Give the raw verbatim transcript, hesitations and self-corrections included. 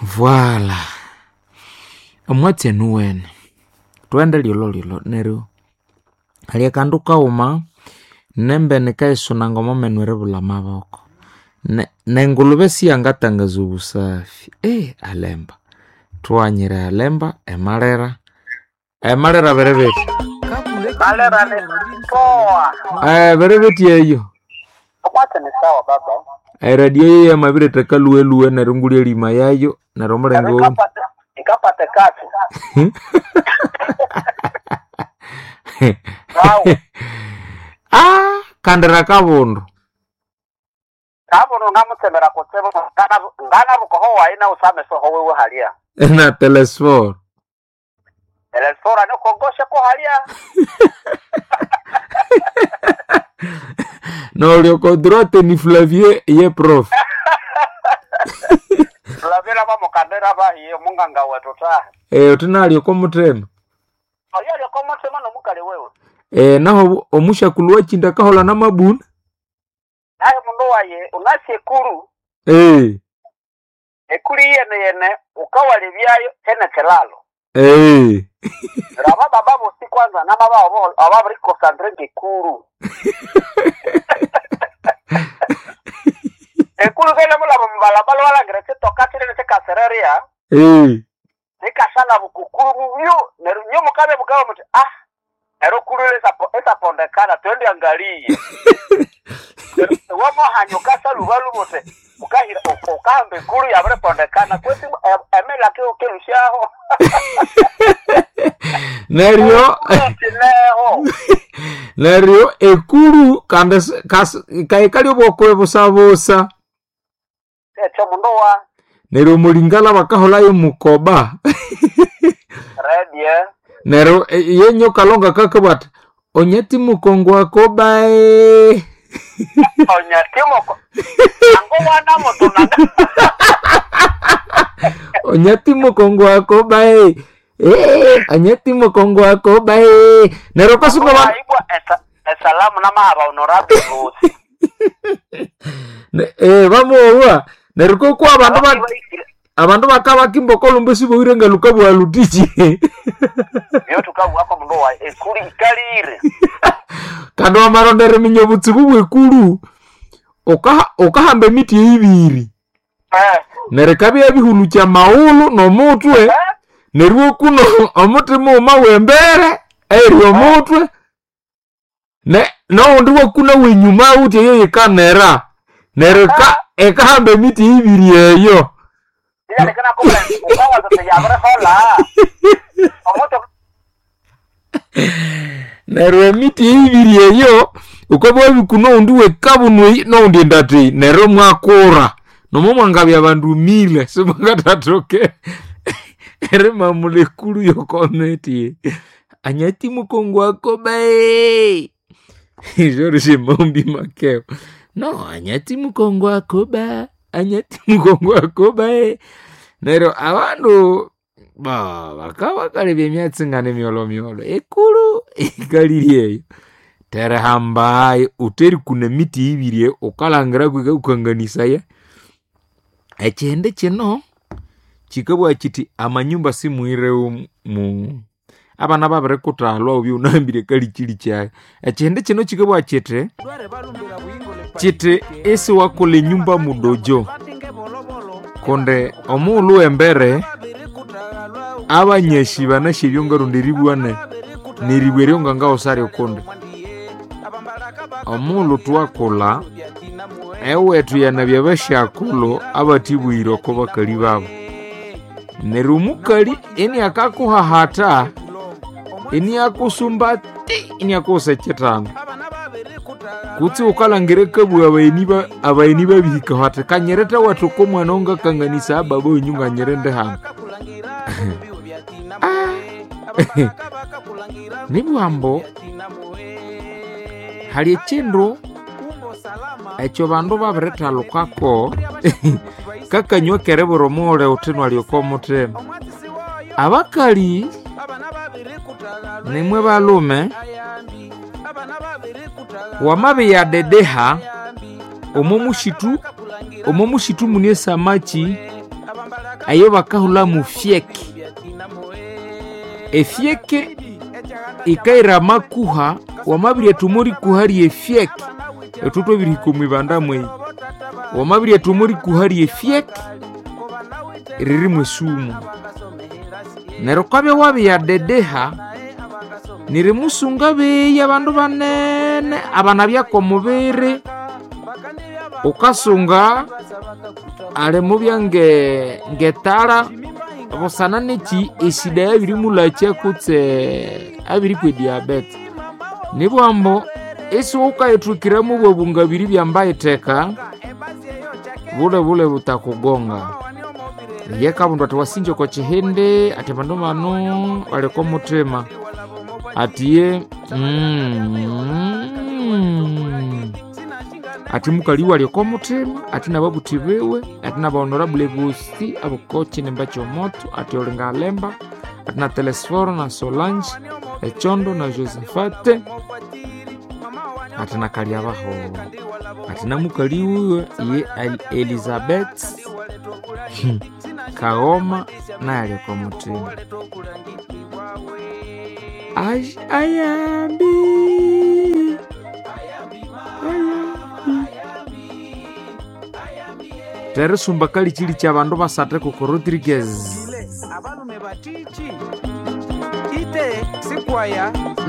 Voila, omwatsi enu wene thughende lyolholyolho neryo hali akandu kaghuma nembene yikayisunanga omwamenu eribulha amaboko. Ne- nengulube siyangatangaza obusafi, alemba thughanyire alemba emalira, emalira biri bithi? Malera ni poa. Biri bithi eyo? Omwatsi ni sawa baba. Eradio eyo yamabiretha lhuwe neryo ngulya erima yayo neryo omulenge owu Ikapata ikapata kati. Sawa. Ah, kandira kabundu Kabuno ngamutsemera kutsibu ngana ngana bukoho waina usame soho wewe halia. na telesfor Elesora ni kogoshe ko halia. nolyoka droite ni Flavie ye prof Lavira ba mukandera bahiye munganga wetu ta. eh tunalyoka omuthema Oyo lyoko mutsema nomukali wewe. eh naho omushakulu wakinda kahola namabuna Naye mundu waye unasi ekuru. eh Ekuru yene yene ukawalibyayo tene kelalo. eh Raba baba bosi kwanza namaba ababiri concentrate ngekuru. Ekuru kele mulaba mubalabala walangira chitoka chilene chikasereria eh nikashala bukukuru mubyo neryo nyo mukabe bukaba muti ah ero kuru esapondekana twende angalie wamohanyo kasalubalu mute ukahira ukahamba ekuru yabiripondekana kwesi emela kelushaho neryo kineho neryo ekuru kandi kaikali obwokwe busabusa ekyo mundu wa neryo omulingala bakaholayo mukoba redie neryo eh, yenyo kalonga kakabwa ati onyati mukongo akobae onyatimoko ango wana mutunanga onyati mukongo akobae Eh, anyati mukongo akobae neryo kasuka ba waibwa esalamu namahaba honorable bosi Ne- eh bamuwa neryo kokwa abandu ba abandu bakabakimba okolumba siboire nga lukabwa lutichi iyo tukabwako mundu wa ekuri ikalire kandi wamarondera eminya obutsibu bwekulu ukaha- ukahamba emiti ibiri Eh, neryo ikabya ebihulukya maghulhu nomutwe eh, neryo okuno omuti mughuma wembere eri omutwe ne nowundi wakuna wenyuma wuthi eyo yikanera neryo ika- ikahamba emiti ibiri eyo ilalekana kubula ukawaza yabirihola omuti neryo emiti ibiri eyo ukabya wabikuna owundi wekabunu eyi nowundi endata eyi neryo mwakura nomo mwangabya abandu mile simwangathathoke erimamula ekulu yokomiti anyati mukongo akobae George maombi makeo no anyati mukongo akoba anyati mukongo akobae neryo abandu ba bakaba emyatsi ngane myolomyolo ekulu ikaliri eyo terihambayo uteri kuna emiti ibiri eyo ukalangira kwika ukanganisaya ekihindi kino kikabugha kiti amanyumba simuirewo mu abana babirikuthalwa obyo unahambire kalikili kyayo ekihindi kino kikabugha kiti kiti isiwakolha enyumba mudojo kundi omughulhu wembere abanyashi banasya ngarundi eribwa ne neribwa eryo ngangawusa kundi omughulhu thuwakulha ewethu yanabya basyakulhu abathibwire oko bakali babu neryo omukali iniakakuhahatha iniakusumba ti iniakuwusa ekithanda kutsi wukalhangira akabugha abagheni ba- abagheni babihikaho athi kanyirete wethu komwana ongakanganisa ababa wenyu nganyirinde hano nibugha ambu hali ekindu ekyo bandu babirithalukako kakanywa keribura omughulhu wuthi nwalyoka omuthima abakali nimwe balume wamabiyadedeha omo mushitu omo mushitu mune esamaki Eyo bakahula mu fyeke. Efyeke ikaira amakuha, wamabiryathuma erikuha ry'efyeke, ithwe twabirihika omwibanda mweyi, wamabiryathuma erikuha ry'efyeke riri mwesumu. Neryo wukabya wabiyadedeha, nerimusunga beyi abandu banene abanabya kw'omubiri, wukasunga alimubya nge ngetara busana neki esida yabirimulakya kutse abirikwa ediabete. Nibugha ambu isiwukayithwikiramu bwabungabiri byambayitheka, bule bule butakugonga. Iye kabundu athi wasinja oko kihindi, athi abandu bano bali oko muthima, athi mm, athi mukali ali oko muthima, athi nababuthi biwe, athi naba honorable bosi aboko kinimba ky'omotho, athi olinga alemba, athi na Telesforo na Solange, echondo na Josephate, athi na Kalyabaho, athi na mukali wiwe ye Elizabeth Kaghoma naye ali oko muthima. Ai- Ayambi ayambi terisumba kalichili kya bandu basathu kuku Rodriguez Abalume batiki ite sikwaya.